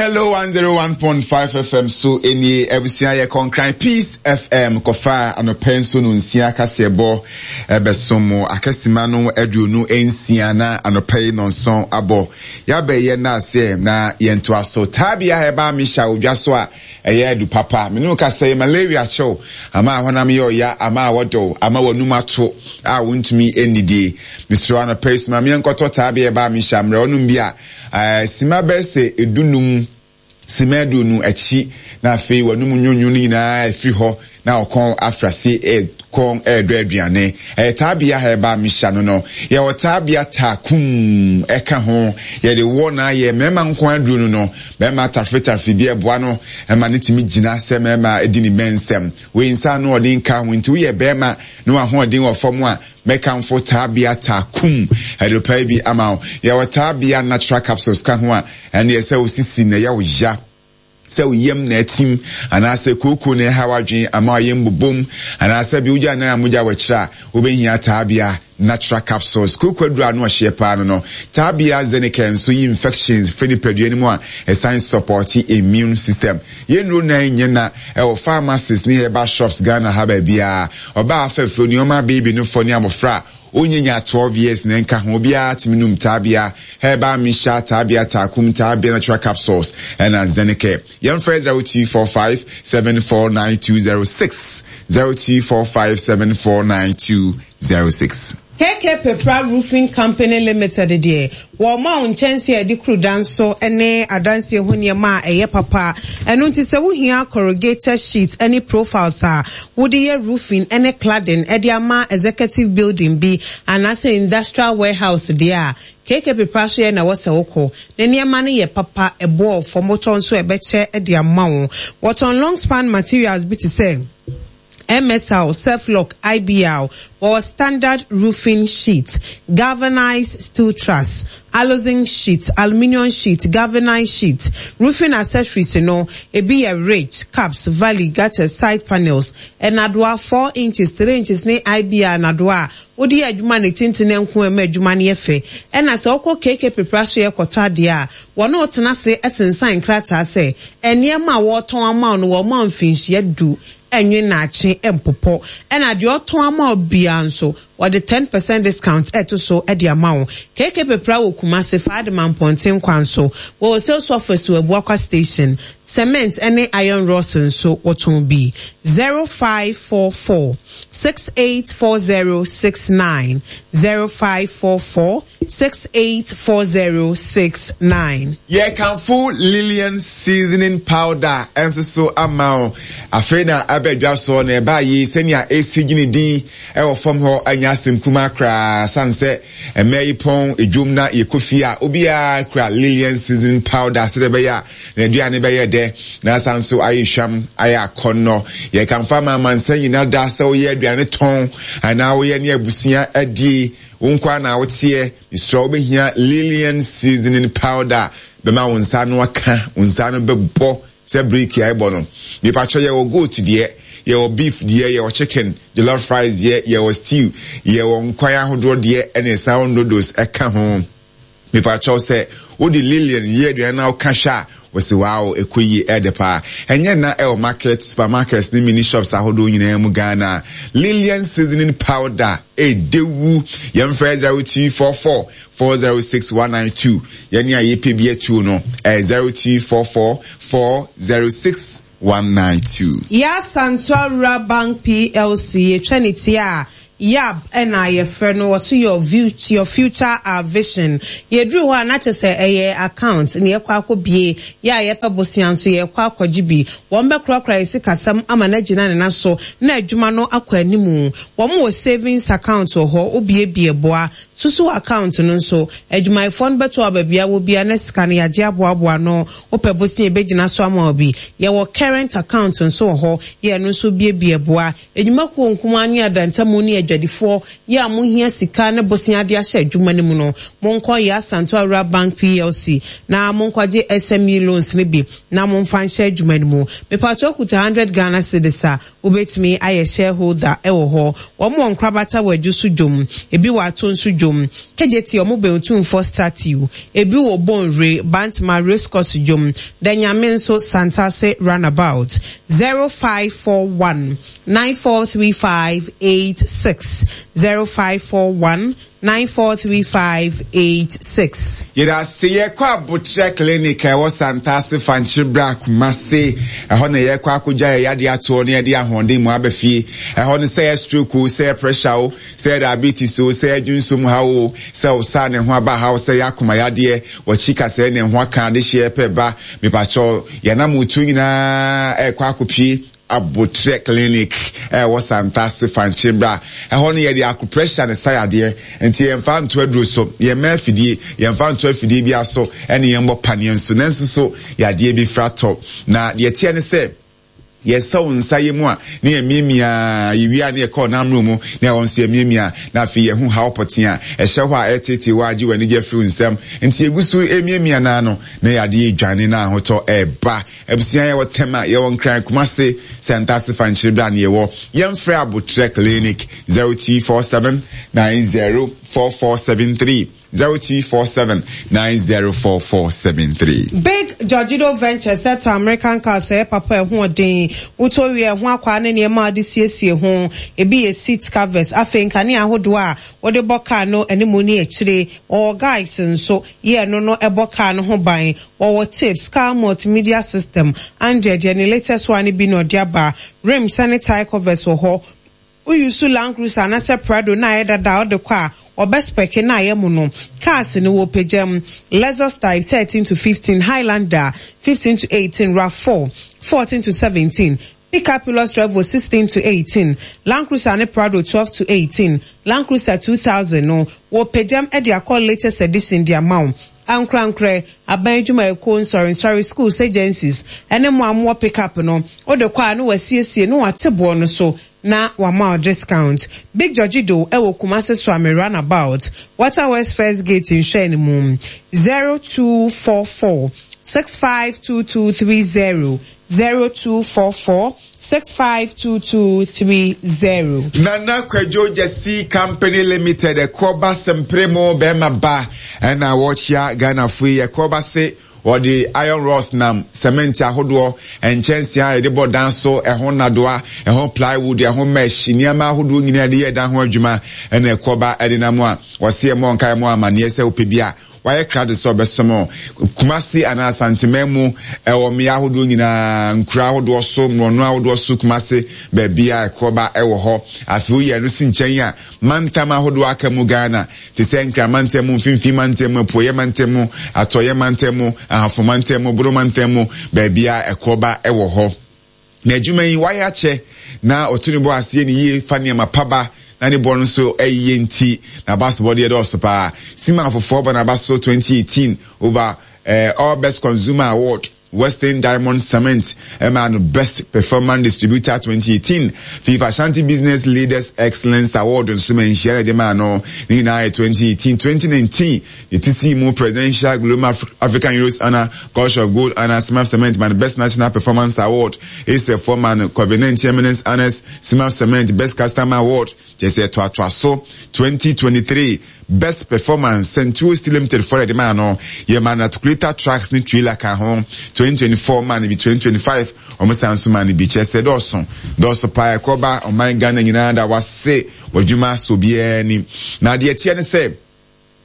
Hello 101.5 FM so nie abusua yɛ kɔnkran Peace FM kɔfa anɔpɛ nso no nsia kaseɛbɔ ɛbɛso mo akasima no 26 na anɔpɛ yi nɔnson abɔ yɛabɛyɛ naaseɛ na yɛntoa so taabia ɛba mehyɛ odwa so a ɛyɛ adu papa me ne wo kasa yi malaria kyew ama ahonam yɛ ɔya ama awɔdɔw ama w'anum ato a wontumi nnidie mesrɛ anɔpɛ yi soma meɛnkɔtɔ taabia ɛba mehyɛ mmerɛ ɔnom bi a Simma bɛyɛ sɛ dunum, simma 20 akyi, na afei w'anom nwonwo no nyinaa afiri hɔ, na ɔkɔn afrase kɔn redɔ aduane. Ɛyɛ taabea herbal mixture no no. Yɛwɔ taabea taakum ɛka ho. Yɛde wɔ na ayɛ mmarima nko aduro no no. Barima tafretafre bi ɛboa no ma no tumi gyina sɛ mmarima di ne bɛnsɛm. Wei nsa ano ɔden nka ho nti woyɛ barima na w'ahoɔden wɔ fam a, Mɛkamfo Taabea Taakum aduropae bi ama wo. Yɛwɔ Taabea Natural Capsules ka ho a, ɛnneɛ sɛ wo sisi na ɛyɛ wo ya, sɛ wo yam na atim, anaasɛ kooko na ɛha w'adwene ama w'ayam bobom, anaasɛ bi wogya nan a mogya wɔ akyire a, wobɛhia Taabea Natural Capsules. Kooko aduro a ano ɔhyeɛ paa no no. Taabea Zenicare nso yi infections firi nipadua no mu a ɛsan sɔpɔte immune system. Yɛn nnuro nan nyɛ na ɛwɔ pharmacies ne herbal shops Ghana ha baabiara. Ɔbaa afɛfɛ, onuama, baby no fɔ ne abɔfra a ɔnnya nyaa 12 years na ɛnka ho, obiara tumi nom Taabea Herbal Mixture, Taabea Taakum, Taabea Natural Capsules ɛna Zenicare. Yɛmfrɛ 0245 749206, 0245 749206. KK Pepra Roofing Company Limited deɛ, wɔma wo nkyɛnsee a yɛde kuru dan so ne adansie ho nneɛma a ɛyɛ papa. Ɛno nti sɛ wohia corrugated sheet ne profiles a wode yɛ roofing ne cladding de ama executive building bi anaasɛ industrial warehouse deɛ a, KK Pepra so yɛ na ɛwɔ sɛ wokɔ. Ne nneɛma no yɛ papa, ɛboɔ fam, wotɔ nso a ɛbɛkyɛ de ama wo. Wɔtɔn long span materials bi te sɛ. MSL, Surflock, IBR, wɔwɔ standard roofing sheet, galvanized steel truss, aluzinc sheet, aluminium sheet, galvanized sheet. Roofing accessories no, ebi yɛ ridge, caps, valley, gutters, side panels, nnadewa 4 inches, 3 inches ne IBR nnadewa a wode yɛ adwuma ne tenten nko a ɛma adwuma no yɛ fɛ. Ɛna sɛ wokɔ KK Pepra so yɛ kɔtɔ adeɛ a, wɔne wo tena ase sensan nkrataa sɛ nneɛma a wɔretɔn ama wo no wɔma wo mfinhyia du ɛnwe naakye mpopɔ ɛna deɛ ɔtɔn ama wo biara nso wɔde 10% discount ɛto so de ama wo. KK Pepra wɔ Kumasi Faadima Mpɔnten kwan so wɔwɔ sales office wɔ Abuakwa station. Cement ɛne iron rods nso wɔtɔn bi. 0544 684069 0544 684069. Yɛrekamfo Lillian Seasoning Powder nso so ama wo. Afei na aba dwa soɔ na ɛbaa yei sɛnea ɛsi gye ne din wɔ fam hɔ nyɛ asɛm kumaa koraa sane sɛ mmaa yi pɔn dwom na yɛkɔ fie a obiara kura Lillian Seasoning Powder sɛdeɛ ɛbɛyɛ a n'aduane bɛyɛ dɛ na asan nso ayɛ hwam ayɛ akɔnnɔ. Yɛkamfo ama amansan nyinaa da sɛ woyɛ aduane tɔn anaa woyɛ ne abusua adie. Wo nko ara na woteɛ, mesrɛ wo wobɛhia Lillian seasoning powder bɛma wo nsa ano aka, wo nsa ano bɛbɔ sɛ breki a ɛbɔ no. Mepakyɛ yɛwɔ goat deɛ, yɛwɔ beef deɛ, yɛwɔ chicken, jollof rice deɛ, yɛwɔ stew, yɛwɔ nkwan ahodoɔ deɛ ɛne sour noodles ɛka ho. Mepakyɛw sɛ wode Lillian yɛ aduane na woka hwɛ a, wɔse wow ɛkɔ yie ɛɛdɛ paa. Ɛnyɛ nna ɛwɔ market, supermarkets ne mini shops ahodoɔ nyinaa mu Ghana. Lillian seasoning powder ɛɛdɛ wu. Yɛmfrɛ 0244 406 192. Yɛne a yɛpɛ bi atuo no ɛyɛ 0244 406 192. Yaa Santua Rural Bank PLC, yɛtwa ne ti a, YAB na yɛfrɛ no, wɔso your your future our vision. Yɛduru hɔ a na kyerɛ sɛ ɛyɛ account na yɛkɔ akɔbie, yɛ a yɛpɛ bosea nso yɛkɔ akɔgye bi. Wɔn bɛkorakora yɛn sikasɛm ama no agyina ne nan so na adwuma no akɔ animu. Wɔn wɔ savings account wɔ hɔ, wobiebie boa. Susu account no nso, adwumayɛfoɔ no bɛto aba bia wɔ bia na sika no yɛagye aboaboa ano. Wopɛ bosea ɛbɛgyina so ama wo bi. Yɛwɔ current account nso wɔ hɔ, yɛ ɛno nso biebie boa. Adwumakuo nkumaa ne adantamu ne adwuma. adwadifoɔ yɛ a mohia sika ne bosea de ahyɛ adwuma no mu no, monkɔ Yaa Santoa Rural Bank PLC na monkɔgye SME loans no bi na momfa nhyɛ adwuma no mu. Mepakyɛw kuta 100 Ghana cedis a, wobɛtumi ayɛ shareholder wɔ hɔ. Wɔn wɔ nkorabata wɔ Adwo so dwom, ebi wɔ Ato nso dwom, Kejetia wɔn bɛn Otumfoɔ statue, ebi wɔ Bonwire, Bantama race course dwom, Danyame nso Santase runabout. 0541 943586, 0541 943586. Yɛdase yɛkɔ Aboterɛ clinic a ɛwɔ Santase Fankyebra Kumase ɛhɔ na yɛkɔ akɔgya yɛ yadeɛ atoɔ na yɛde ahoɔden mu aba fie ɛhɔ no sɛ yɛ stroke o sɛ yɛ pressure o sɛ yɛ diabetes o sɛ yɛ dwonso mu haw o sɛ wo saa ne ho aba haw sɛ yɛ akoma yadeɛ wɔkyi kasɛɛ ne ho aka adehyeɛ pɛ ba mepakyɛw yɛnam otuo nyinaa ɛkɔ akɔpie Aboterɛ Clinic a ɛwɔ Santase, Fankye bra. Ɛhɔ no yɛde acupressure na ɛsa yadeɛ. Nti yɛmfa nto aduro so, yɛmma afidie, yɛmfa nto afidie biara so ɛne yɛmmɔ paneɛ nso. Nanso so yadeɛ bi fra tɔ. Na deɛ ɛteɛ ne sɛ, yɛsɛ wo nsa yɛ mu a na yɛmiamia, yɛwie a na yɛkɔ ɔnam mmerɛ mu na ɛhɔ nso yɛmiamia, na afei yɛhu haw pɔtee a ɛhyɛ hɔ a ɛreteetee wo a agye w'anigye afiri wo nsam. Nti yɛgu so remiamia no ara no na yadeɛ redwane na ahotɔ reba. Abusua yɛwɔ Tema, yɛwɔ Nkran, Kumase, Santase Fankyere bra ne yɛwɔ. Yɛnfrɛ Abotrɛ Clinic 0247 904473 0247 904473. Big Georgido Ventures tɔ American cars a ɛyɛ papa a ɛho ɔden. Wotɔ wie a, ɛho akwaa ne nneɛma a wode siesie ho. Ebi yɛ seat covers, afei nkanea ahodoɔ a wode bɔ car no anim ne akyire. Wɔwɔ guides nso, yɛ ɛno no ɛbɔ car no ho ban. Wɔwɔ tips, car multimedia system, Android deɛ ne latest one no bi na ɔde aba, rims ne tyre covers wɔ hɔ. Wo use Land Cruiser anasɛ Prado na ayɛ dada a wode kɔ a, wɔbɛ spɛke na ayɛ mono. Cars no wɔpagya mu, Lexus type 13 to 15, Highlander 15 to 18, Rav4 14 to 17, Pickup Hilux Revo 16 to 18, Land Cruiser ne Prado 12 to 18, Land Cruiser 2000 no, wɔrepagyam de akɔ latest edition de ama wo. Ankorankorɛ, aban adwumayɛkuo, nsɔrensɔre, schools, agencies, ne mo a mowɔ pickup no, wode kɔ a na wɔasiesie na wɔate boɔ no so na wɔama wo discount. Big Georgie Do wɔ Kumasi Suame Runabout, Water Works First Gate nhwɛɛ no mu, 0244 652230. 0244 652230. Nana Kwadwo Gyasi Company Limited ɛkoɔba sempere mo bɛɛma ba ɛna wɔkyea Ghana fo yi ɛkoɔba se wɔde iron rods nam cement ahodoɔ nkyɛnsee a yɛde bɔ dan so ɛho nnadoa ɛho plywood ɛho mesh nneɛma ahodoɔ nyinaa yɛde yɛ dan ho adwuma ɛna ɛkoɔba ɛde nam a wɔse ɛmɔ nka ɛmɔ amaneɛ sɛ wopɛ bi a Wayɛ krado sɛ ɔbɛsom Kumasi anaa Asanteman mu wɔ mmea ahodoɔ nyinaa, nkuro ahodoɔ so, mmorɔno ahodoɔ so, Kumasi baabi a ɛkorɔba wɔ hɔ. Afei woyi ɛno si nkyɛn a, mantam ahodoɔ aka mu Ghana te sɛ Nkran mantam mu, Mfimfini mantam mu, Apueeɛ mantam mu, Atɔeɛ mantam mu, Ahafo mantam mu, Bono mantam mu, baabi a ɛkorɔba wɔ hɔ. Na adwuma yi wayɛ akyɛ na ɔto ne bo ase yɛ ne yie fa nneɛma pa ba na ne boɔ no nso yɛ nti n'abasobɔdeɛ dɔɔso paa. Sima afoforɔ bɔ n'aba so 2018 over eh, All Best Consumer Award, Western Diamond Cement ɛmaa no Best Performance Distributor 2018, FIFA Ashanti Business Leaders Excellence Award nso ma nhyia na ɛde maa no, ne nyinaa yɛ 2018, 2019 Ne ti sii mu Presidential Global African Heroes Honour, Culture of Gold Honour, Simap Cement ma no Best National Performance Award, ASEF foɔ ma no Covid-19 Eminence Honours, Simap Cement Best Customer Award, kyerɛ sɛ ɛtoatoa so, 2023 Best Performance, Centuo Steel Limited foɔ na ɛde maa no, yɛmaa no articulator trucks ne trailer ka ho, 2024 maa no bi, 2025 wɔn san nso maa no bi, kyerɛ sɛ dɔɔso, dɔɔso paa, ɛkɔba ɔman Ghana nyinaa da wase, w'adwuma sɔ obiara ani. Na deɛ ɛteɛ ne sɛ,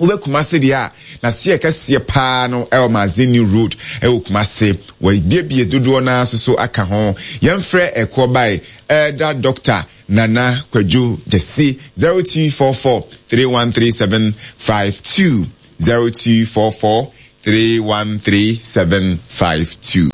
Wobɛ Kumase deɛ a, n'asoɛɛ kɛseɛ paa no ɛwɔ Magazine New Road ɛwɔ Kumase. Wɔabiebie dodoɔ no ara nso so aka ho. Yɛmfrɛ ɛkoɔ bae Elder Doctor Nana Kwadwo Gyasi 0244 313752 0244 313752.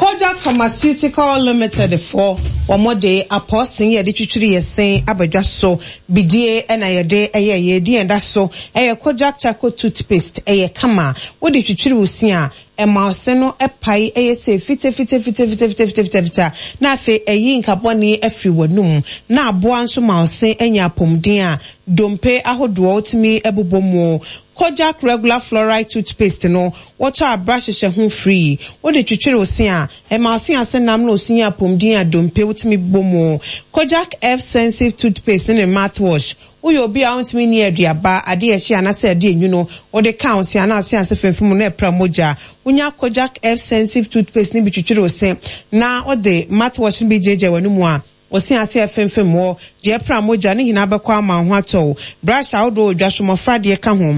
Kojak Pharmaceutical Limited foɔ, wɔn de apɔɔsen yɛde twitwiri yɛ se aba dwa so. Bidie na yɛde yɛ yɛ din a ɛda so yɛ Kojak Charcoal Toothpaste. Ɛyɛ kama. Wode twitwiri wo se a, ɛma wo se no pae yɛ sei fitafitafitafitafitafita na afei ɛyi nka bɔne firi w'anum na aboa nso ma wo se nya apɔmuden a dompe ahodoɔ wotumi bobɔ mu. Kojak Regular Fluoride Toothpaste no, wotɔ a brush hyehyɛ ho free. Wode twitwiri wo se a, ɛma wo se ase nam na osi nya apɔmuden a dompe wotumi bobɔ mu. Kojak F Sensitive Toothpaste ne ne mouthwash, Woyɛ obi a wontumi nni aduaba, ade a ɛhye anaasɛ ade a enwunu, wode ka wo se anaa wo se ase femfem mu na ɛpra mogya. Wunya Kojak F Sensitive Toothpaste no bi twitwiri wo se na wode mouthwash no bi gyaagyaa w'anomu a, wo se ase a ɛfemfem hɔ, deɛ ɛpra mogya no nyinaa bɛkɔ ama wo ho atɔ wo. Brush ahodoɔ wɔ dwa so, mmɔfra deɛ ka ho.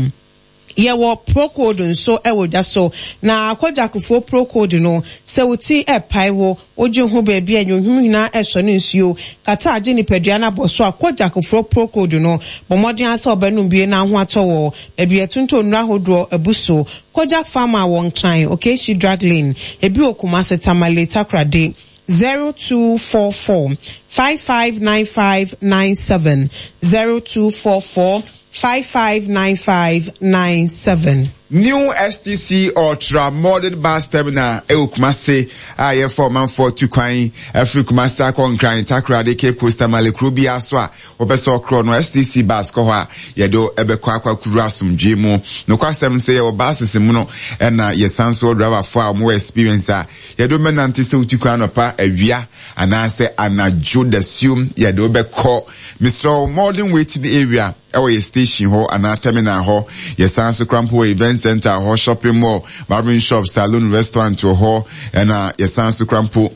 Yɛwɔ Procold nso wɔ dwa so. Na Kojakfoɔ Procold no, sɛ wo ti repae wo, wogye ho baabi a nwonwom nyinaa resɔ ne nsuo, kata agye nipadua no abɔ so a, Kojakfoɔ Procold no, bɔ mmɔden ara sɛ wobɛnom bie na ho atɔ wo. Baabi a yɛtontɔn nnuro ahodoɔ abu so. Kojak Pharma wɔ Nkran, Okaishie Drug Lane. Ebi wɔ Kumasi, Tamale, Takoradi. 0244 559597, 0244 559597. New STC Ultra Modern Bus Terminal wɔ Kumasi a yɛfa ɔmanfoɔ tu kwan afiri Kumasi akɔ Nkran, Takoradi, Cape Coast, Tamale, kuro biara so a wɔpɛ sɛ ɔkorɔ no STC bus kɔ hɔ a yɛde wo bɛkɔ akɔ akɔduru asomdwoe mu. Nokwasɛm sɛ yɛwɔ buses mu no ɛna yɛsan so wɔ driverfoɔ a wɔwɔ experience a yɛde wo bɛnante sɛ wotu kwan anɔpa, awia anaasɛ anadwo dasuom yɛde wo bɛkɔ. Mesrɛ wo modern waiting area ɛwɔ yɛ station hɔ anaa terminal hɔ. Yɛsan so kora mpo wɔ event center hɔ, shopping mall, barbering shop, saloon, restaurant wɔ hɔ ɛna yɛsan so kora mpo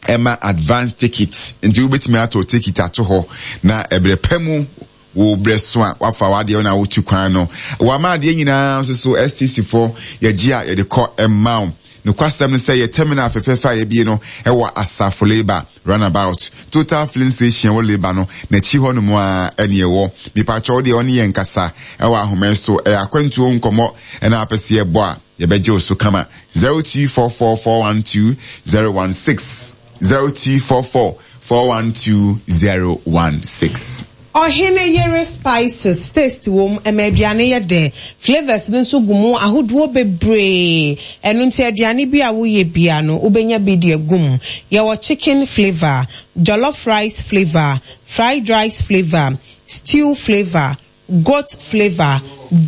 ɛma advance ticket nti wobɛtumi atɔ ticket ato hɔ na ɛberɛ pa mu wo berɛ so a wafa w'adeɛ na wotu kwan no wama adeɛ nyinaa nso so STC foɔ yɛgye a yɛde kɔ ɛma wo. Nokwasɛm ne sɛ yɛ terminal fɛfɛɛfɛ a yɛabie no wɔ Asafo Labour Runabout, Total Filling Station ɛwɔ Labour no n'akyi hɔ nom ara ɛne ɛwɔ. Mepakyɛ wo deɛ ɔne yɛn nkasa ɛwɔ ahoma yi so, ɛyɛ akwantuo nkɔmmɔ ɛna apɛ sɛ yɛbɔ a yɛbɛgye wo so kama. 0244 412 016, 0244 412 016. Ɔhene yere spices taste wom, ɛma aduane yɛ dɛ. Flavours no nso gu mu ahodoɔ bebree. Ɛno nti aduane bi a woyɛ biara no, wobɛnya bi de agu mu. Yɛwɔ chicken flavour, jollof rice flavour, fried rice flavour, stew flavour, goat flavour,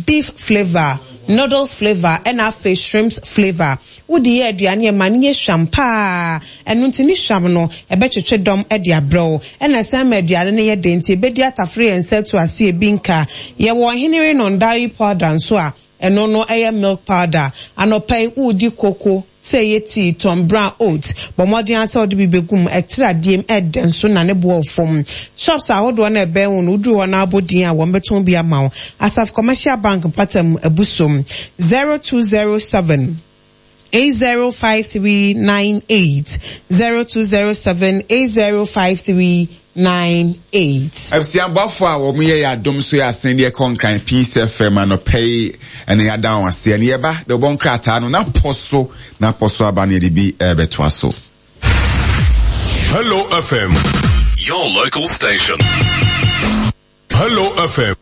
beef flavour, noodles flavour ɛna afei shrimps flavour. Wode yɛ aduane a ɛma no yɛ hwam paa. Ɛno nti ne hwam no ɛbɛtwetwe dɔm de abrɛ wo. Ɛna ɛsan ma aduane no yɛ dɛ nti ɛbɛdi atafere yɛn nsa atu ase ebi nka. Yɛwɔ Ɔhene Renon Dairy Powder nso a ɛno no ɛyɛ milk powder. Anɔpa yi woredi koko Sɛ ɛyɛ tii, tɔn bran, oat, bɔ mmɔden ara sɛ wode bi bɛgu mu. Ɛtra adeɛm, ɛdɛ nso na ne boɔ wɔ fam. Shops ahodoɔ no a ɛbɛn wo no, woduru hɔ na wobɔ din a, wɔbɛtɔn bi ama wo. Asaf Commercial Bank mpata mu, Abusom, 0207 805398, 0207 805398. 98. Abusua boafo a wɔn yɛ yɛ adom so yɛ asen deɛ kɔ Nkran Peace FM anɔpa yi ɛna yɛada wɔn ase ɛne yɛba de wɔbɔ nkrataa no na pɔ so na pɔ so aba no yɛde bi ɛrebɛtoa so. Hello FM, your local station. Hello FM.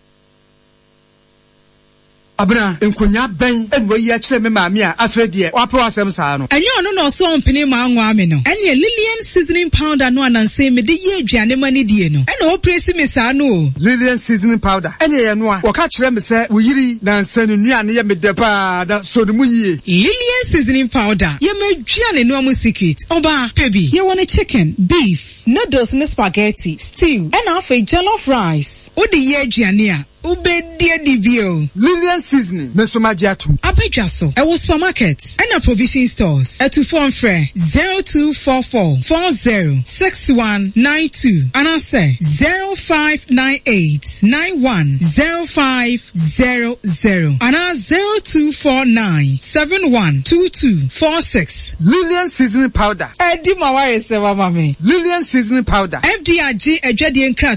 Abena, nkonyaa bɛn na wayi akyerɛ me maame a afei deɛ wapɛ w'asɛm saa no? Ɛnyɛ ɔno na ɔse ɔmpene mma ɔnwaa me no? Ɛneɛ Lilian seasoning powder no a nansa yi mede yɛ aduane ma no die no ɛna ɔrepresi me saa no o. Lilian seasoning powder, ɛneɛ yɛ noa. Wɔka kyerɛ me sɛ wo yere yi nansa ne nnuane yɛ me dɛ paa na sɔ ne mu yie. Lilian seasoning powder yɛ m'aduane noa mu secret. Ɔbaa, pɛ bi. Yɛwɔ no chicken, beef, noodles ne spaghetti, stew, ɛna afei jollof rice. Wode yɛ aduane a, Wobɛdi adi bio. Lilian seasoning me nso magye atom. Aba dwa so, ɛwɔ supermarket ɛna provision stores. Atufoɔ mfrɛ 0244 40 6192 anaasɛ 0598 91 0500 anaa 0249 71 22 46. Lilian seasoning powder. Adi ma w'ayesɛm ama me. Lilian seasoning powder. FDA agye adwadie nkrataa.